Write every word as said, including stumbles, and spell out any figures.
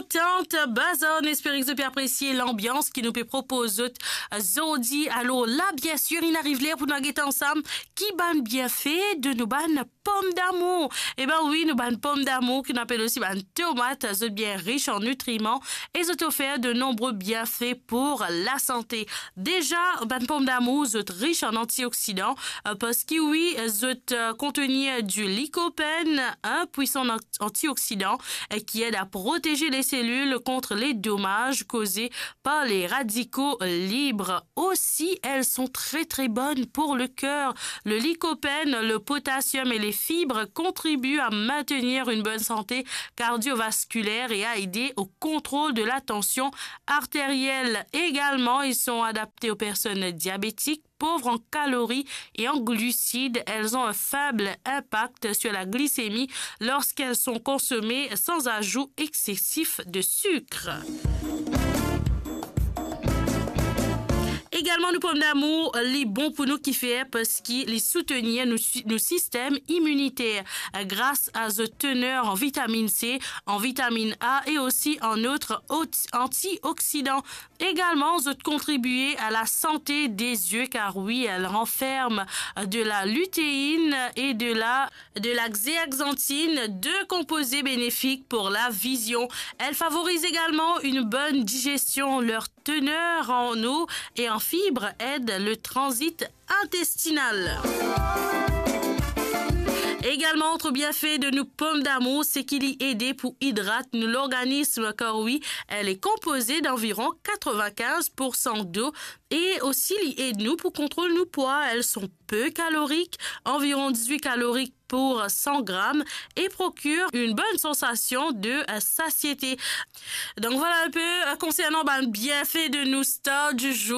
Tant Bazar, nou espere ki zot pe apresie lanbians ki nou pe propoz zot, eh, zordi. Alor la, biensir, inn ariv ler pou nou al get ansam ki bann bienfe de nou bann pomdamour. Eba wi, nou bann pomdamour ki nou apel osi bann tomat, zot bien rich an nitriman e zot ofer de nonbre bienfe pou lasante. Deza, bann pomdamour, zot rich an antioksidan, eh, parski wi, zot, eh, kontenir du lycopène, un puissant an-, antioxydant, eh, qui aide à protéger les cellules contre les dommages causés par les radicaux libres. Aussi, elles sont très, très bonnes pour le cœur. Le lycopène, le potassium et les fibres contribuent à maintenir une bonne santé cardiovasculaire et à aider au contrôle de la tension artérielle. Également, ils sont adaptés aux personnes diabétiques, pauvres en calories et en glucides. Elles ont un faible impact sur la glycémie lorsqu'elles sont consommées sans ajout excessif de sucre. Egalman, nou pomdamour, li bon pou nou, kifer? Parski li soutenir nou si-, nou sistem iminiter, eh, gras a zot tener an vitaminn C, an vitaminn A e osi an lot ot-, antioksidan. Egalman, zot kontribie a la sante de zie, kar wi, elle renferme de la lutéine et de la, de la zeaxanthine, deux composés bénéfiques pour la vision. Elle favorise également une bonne digestion. Leur teneur en eau et en fibres aide le transit intestinal. Egalman, lot bienfe de nou pomdamour, se ki li ede pou idrat nou lorganism, kar wi, elle est composée d'environ quatre-vingt-quinze pour cent d'eau et aussi li ed nou pou kontrol nou pwa. Elles sont peu caloriques, environ dix-huit calories pour cent grammes, et procurent une bonne sensation de, euh, satiété. Donc voilà un peu, euh, concernant, ben, bienfe de nou star du jour.